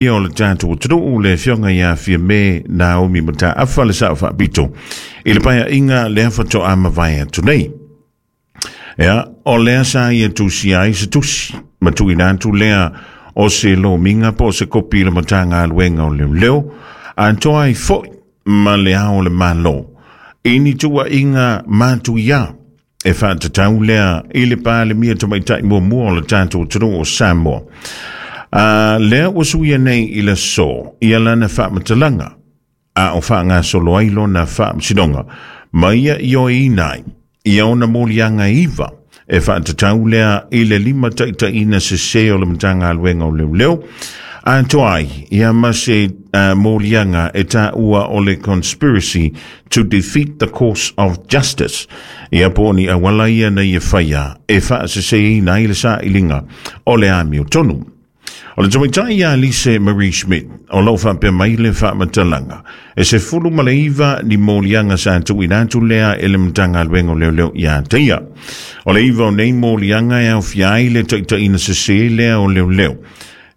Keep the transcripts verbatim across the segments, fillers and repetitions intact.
O le tatou atunuu, le afioga ia Fiame Naomi Mataafa, le Sao Faapito i le Paeaiga lea faatoa mavae atu nei. Ia, o lea sa ia tusia ai se tusi ma tuuina atu lea o se lomiga po o se kopi i le Matagaluega o Leoleo, atoa ai foi ma le Ao o le Malo, i ni tuuaiga matuia e faatatau lea i le Palemia Tamaitai muamua o le tatou atunuu o Samoa. Uh, lea ua suia nei i le aso ia lana faamatalaga a o faagasolo ai lona faamasinoga, ma ia ioeina ai ia ona moliaga iva e faatatau lea i le lima taitaiina sesē o le Matagaluega o Leoleo, atoa ai ia ma se uh, moliaga e taua o le conspiracy to defeat the course of justice, ia po o ni auala ia na ia faia e faaseseina ai le sailiga o le amiotonu. O le tamaitai ia Lise Marie Schmidt, o lo o faapea mai le faamatalaga, e sefulu ma le iva ni moliaga sa tuuina atu lea e le Matagaluega o Leoleo ia te ia. O le iva o nei moliaga e aofia ai le taitaiina sesē lea o leoleo.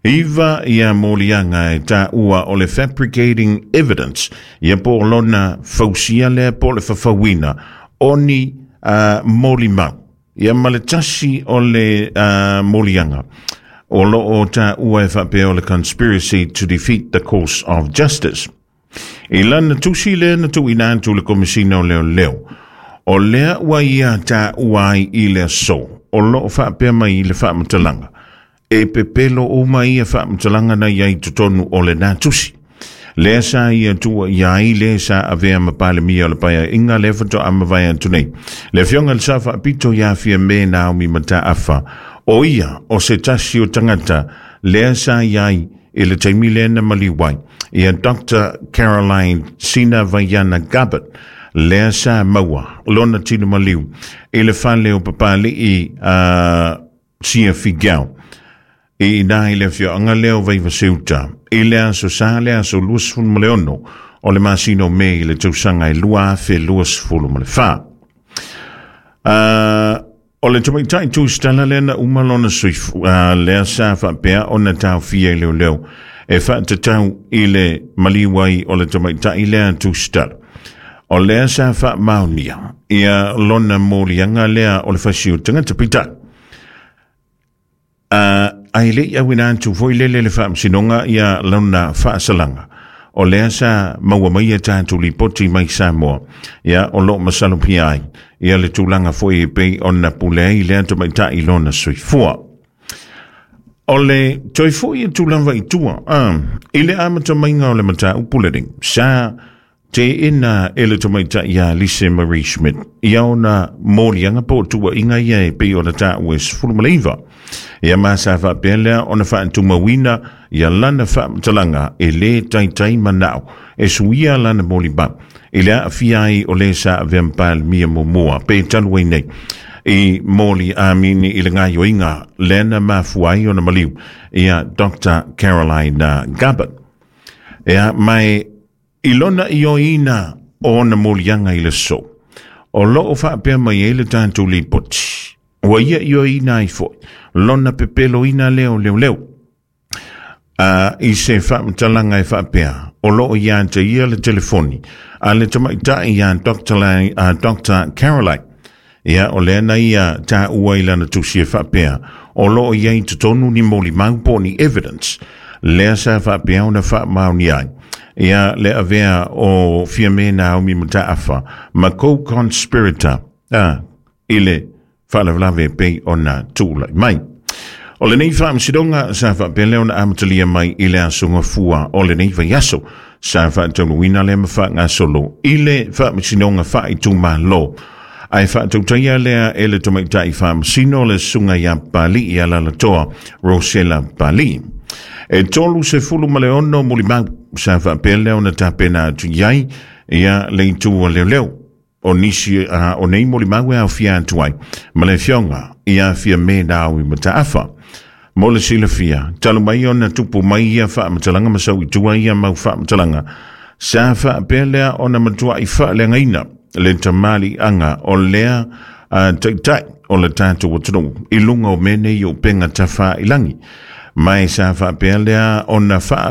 Iva ia moliaga e taua o le fabricating evidence, ia po o lona fausia lea po o le fafauina o ni uh, molimau. Ia ma le tasi o le uh, moliaga o lo o taua e faapea o le conspiracy to defeat the course of justice. I lana tusi lea na tuuina atu le Komisina o Leoleo, o lea ua ia taua ai i le aso, o lo o faapea mai i le faamatalaga, e pepelo uma ia faamatalaga na i ai totonu o lena tusi. Lea sa ia tua ia ai le sa avea ma Palemia o le Paeaiga lea faatoa mavae atu nei, le afioga le Sao Faapito ia Fiame Naomi Mataafa, o ia o se tasi o tagata lea sa i ai i le taimi lea na maliu ai ia Doctor Caroline Sina Vaiana Gabbard, lea sa maua lona tino maliu i le fale o Papali'i uh, Sia Figiao i ina i le afioaga lea o Vaivaseuta i le aso Sa, le aso luasefulu ma le ono o le masina o Me i le tausaga e lua afe luasefulu ma le fa. Uh, o le tamaitai tusitala lea na uma lona soifu, uh, lea sa faapea ona taofia i leoleo e faatatau i le maliu ai o le tamaitai lea tusitala. O lea sa faamaonia ia lona moliaga lea o le fasi o tagata peitai. Uh, ai le i auina atu foi lele le faamasinoga ia lona faasalaga. O lea sa maua mai e tatou lipoti mai Samoa, ia o lo o masalopia ai ia le tulaga foi e pei ona pule ai lea tamaitai lona soifua. O le toe foi e tulaga i tua, ah, i le amata maiga o le mataupu lenei, sa teena e le tamaitai ia Lise Marie Schmidt ia ona moliaga po o tuuaiga ia e pei ona taua e sefulu ma le iva. Ia ma sa faapea lea ona faatumauina ia lana faamatalaga e lē taitai manao e suia lana molimau i le aafia ai o lē sa avea ma Palemia muamua pe talu ai nei i moli amini i le gaioiga lea na mafua ai ona maliu ia Doctor Caroline Gabbard. Ia mai i lona ioeina o ona moliaga i le aso, o lo o faapea mai ai le tatou lipoti, ua ia ioeina ai foi lona pepeloina lea o leoleo. Uh, i se faamatalaga e faapea o lo o ia te ia le telefoni a le tamaitai ia Doctor Lai, uh, Doctor Caroline. Ia o lea na ia taua i lana tusi e faapea o lo o iai totonu ni molimau po o ni evidence lea sa faapea ona faamaonia ai ia le avea o Fiame Naomi Mataafa ma co-conspirator ah, i le faalavelave pei ona tulai mai. O lenei faamasinoga sa faapea lea ona amatalia mai i le aso Gafua o lenei vaiaso, sa faataunuuina lea ma faagasolo i le faamasinoga faaitumalo, ae faatautaia lea e le tamaitai faamasino, le susuga ia Pali'i Alalatoa Rosela Pali'i. E tolu sefulu ma le ono molimau sa faapea lea ona tapena atu i ai ia le itu a leoleo. O nisi uh, o nei molimau e aofia atu ai ma le afioga ia Fiame Naomi Mataafa. Mo le silafia, talu mai ona tupu mai ia faamatalaga ma sau i tua ia mau faamatalaga, sa faapea lea ona matuai faaleagaina le tamaliiaga o lea uh, taitai o le tatou atunuu i luga o mea nei o upega tafailagi. Ma e sa faapea lea ona faa